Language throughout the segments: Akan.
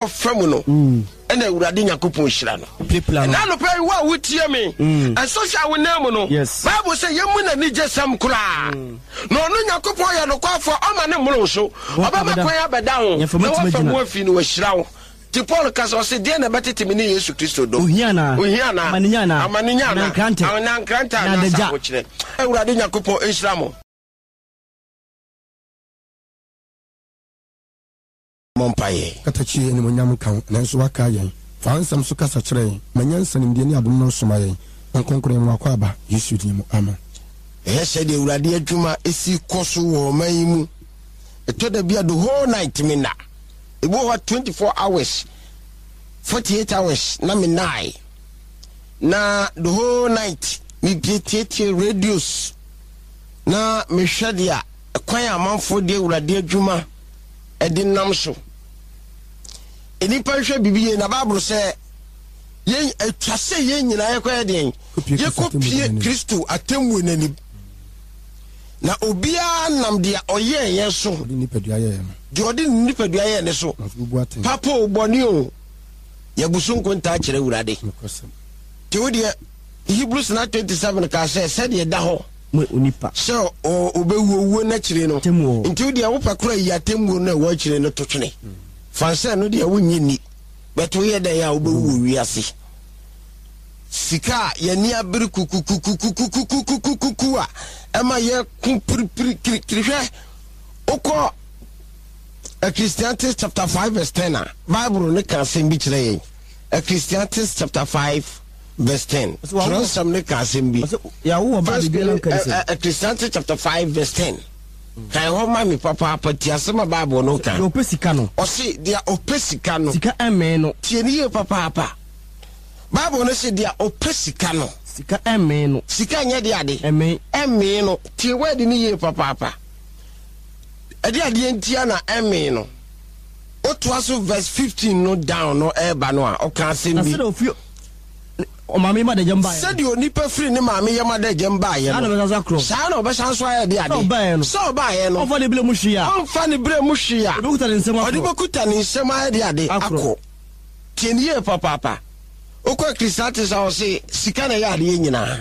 Ɔfa mu no, ɛna Awurade Nyankopɔn hyira no. Ɛna anɔpa yi, wo a wotie me, ɛsɔ sɛ a wonam mu no, Bible sɛ yɛmmu n'anigyesɛm koraa. Na ɔno Nyankopɔn yɛ nokwafoɔ, ɔma ne mmoro so. Ɔbɛma kwan abɛda ho, na wafa mu afi no wahyira wo. Nti Paul ka sɛ, ɔse, deɛ na ɛbɛtete me ne Yesu Kristo dɔ? Ohia anaa? Ohia anaa? Amanenya anaa? Amanenya anaa? Anaa nkrantɛ? Anaa nkrantɛ Anaa anaasɛ adagya? ahokyerɛ? Awurade Nyankopɔn nhyira mo. Mmɔ mpaeɛ. Katakyie animuonyam nka wo, nanso woakae yɛn. Fa wo nsɛm so kasa kyerɛ yɛn. Ma nyansa, nimdeɛ ne adom no soma yɛn. Honhom Kronkron yɛn w'akwaaba, Yesu din mu, amen. Hwɛ sɛdeɛ Awurade adwuma si kɔ so wɔ ɔman yi mu. Ɛtɔ da bi a the whole night me nna. Ebi wɔ hɔ a 24 hours, 48 hours na me nnae. Na the whole night me bie tietie radios na mehwɛ deɛ kwan a amanfoɔ de Awurade adwuma de nam so. Nnipa nhwɛ biribi yie na Bible sɛ yɛn atwa sɛ yɛn nyinaa yɛkɔyɛ deɛn? Yɛkɔpie Kristo atemmuo no anim. Na obiara nam deɛ ɔyɛɛ yɛn so, deɛ ɔde ne nipadua yɛɛ ne so, papa o bɔne o, yɛbu so nkontaa kyerɛ Awurade. Nti wo deɛ Hebrews 9:27 kaa sɛ sɛdeɛ ɛda hɔ Mo onipa. Sɛ ɔbɛwu owuo no akyire no. Atemmuo. Nti wo deɛ wopɛ koraa yi atemmuo no a ɛwɔ akyire no to twene. Fa sɛ ɛno deɛ wonnye nni. But woyɛ dɛn a wobɛwu wɔ wiase. Sika a yɛn ani abere kukukukukukukukukukuku a ɛma yɛko piripiri kirikiri hwɛ wokɔ Ecclesiastes chapter 5 verse 10 a Bible no ka asɛm bi kyerɛ yɛn. Ecclesiastes chapter 5 verse 10. Twerɛnsɛm no ka asɛm bi. First Ecclesiastes chapter 5 verse 10. Kan hɔ ma me papaapa ti asɛm a Bible no ka. Deɛ ɔpɛ sika no. Ɔse deɛ ɔpɛ sika no. Sika ɛmmee no. Tie ne yie papaapa. Bible no se deɛ ɔpɛ sika no. Sika ɛmmee no. Sika nyɛ deɛ ade. Ɛmmee. Ɛmmee no. Tie word no yie papaapa. Ɛde adeɛ ntia na ɛmmee no. Wotoa so verse 15 no down no ɛreba no a, ɔka asɛm bi. Na sɛdeɛ ɔfiri ɔmaame yam adagyam baeɛ no. Sɛdeɛ onipa firi ne maame yam adagyam baeɛ no. Saa na ɔbɛsan so akorɔ. Saa na ɔbɛsan so ayɛ de ade. Sɛ ɔbaeɛ no. Sɛ ɔbaeɛ no. Ɔmfa ne berɛ mu hwee a. Ɔmfa ne berɛ mu hwee a. Ɔde bɛkuta ne nsam akorɔ. Ɔde bɛkuta ne nsam ayɛ de ade akɔ. Tie no yie papaapa. Wokɔ Ecclesiastes a ɔse sika na ɛyɛ adeɛ nyinaa.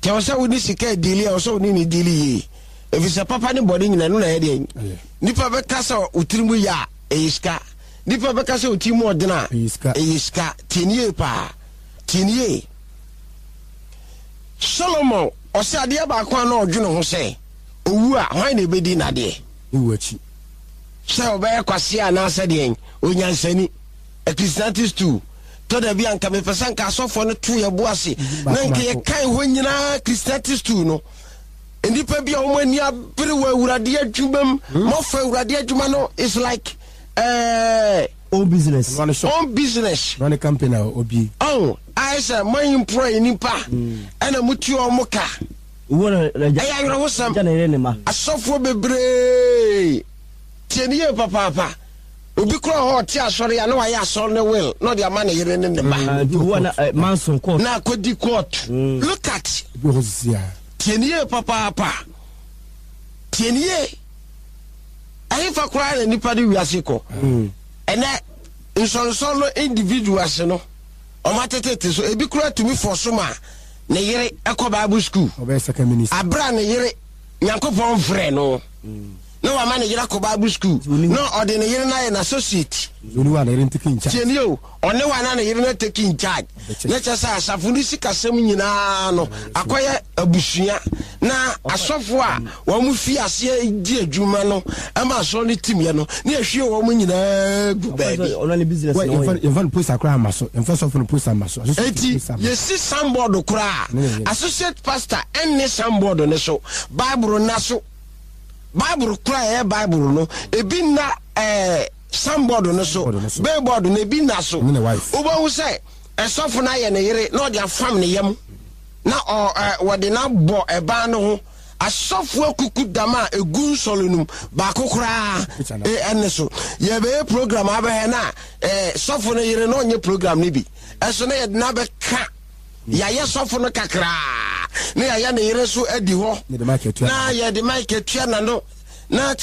Nti ɛwɔ sɛ wode sika diili a ɛwɔ sɛ wode ne diili yie. Ɛfiri sɛ papa ne bɔne nyina ɛno na ɛyɛ deɛ. Nipa bɛka sɛ wo tiri mu yɛ a ɛyɛ sika. Nipa bɛka sɛ wo tiri mu ɔdene a ɛyɛ sika. Tie no yie paa. Tie no yie. Solomon ɔsɛ adeɛ baako a na ɔdwene ho sɛ owu a hwan na ɛbɛdi n'adeɛ? Ewu akyi. Sɛ ɔbɛyɛ kwasea anaasɛ deɛn onyansani. Ecclesiastes 2. Tɔ da bi a nka mepɛ sɛ nka asɔfoɔ no to yɛ bo ase na nka yɛkan hɔ nyinaa Ecclesiastes 2 no. Nnipa bi a wɔn ani abere wɔ Awurade adwuma mu. Hmm. Mɔfa Awurade adwuma no is like own business. Own business. Run a company a obi. Oh, ayɛ sɛ mo employ nipa hmm. ɛna mo tua wɔn ka. Ɛyɛ awerɛhosɛm. Asɔfoɔ bebree tie ne yie papaapa. Obi kura hɔ ɔte asɔre a na wayɛ asɔre ne will na ɔde ama ne yere ne ne ba. Ah, na akɔdi court. Hmm. Look at. Tie no yie papaapa. Tie no yie. Ɛhefa koraa na nipa de wiase kɔ? Hmm. Ɛnɛ nsɔnsɔn no individuals no wɔn atetete so ebi koraa tumi fɔ so ma ne yere ɛkɔ Bible school. Abira ne yere Nyankopɔn frɛ no. Hmm. Na wama ne yere akɔ Bible school. Na ɔde ne yere no ayɛ n'associate. Tie nie o. Ɔne wa na ne yere no take in charge. Na kyerɛ sɛ asafo no sikasɛm nyinaa no akɔyɛ abusua na asɔfo a wɔn fi aseɛ di adwuma no ma asɔre no timyɛ no ne yɛhwie wɔn nyinaa gu baabi. Yɛmfa no poster koraa ama so. Yɛmfa sɔfo no poster ama so. Eti yɛsi sanbɔɔdo koraa associate pastor ɛnne sanbɔɔdo no so Bible nna so. Bible koraa ɛyɛ Bible no ebi nna ɛɛ. Signboard no so, billboard no ebi nna so. Wobɛhu sɛ ɛsɔfo no ayɛ ne yere na ɔde afam ne yam na ɔ ɛ wɔde no abɔ ɛban no ho. Asɔfo akuku dam a egu nsɔre no mu baako koraa ɛne so. Yɛbɛyɛ program abɛhɛ na ɛ sɔfo no yere na ɔnyɛ program no bi. Ɛso na yɛde no abɛka yɛayɛ sɔfo no kakraa na yɛayɛ ne yere so adi hɔ na yɛde mic atua n'ano na.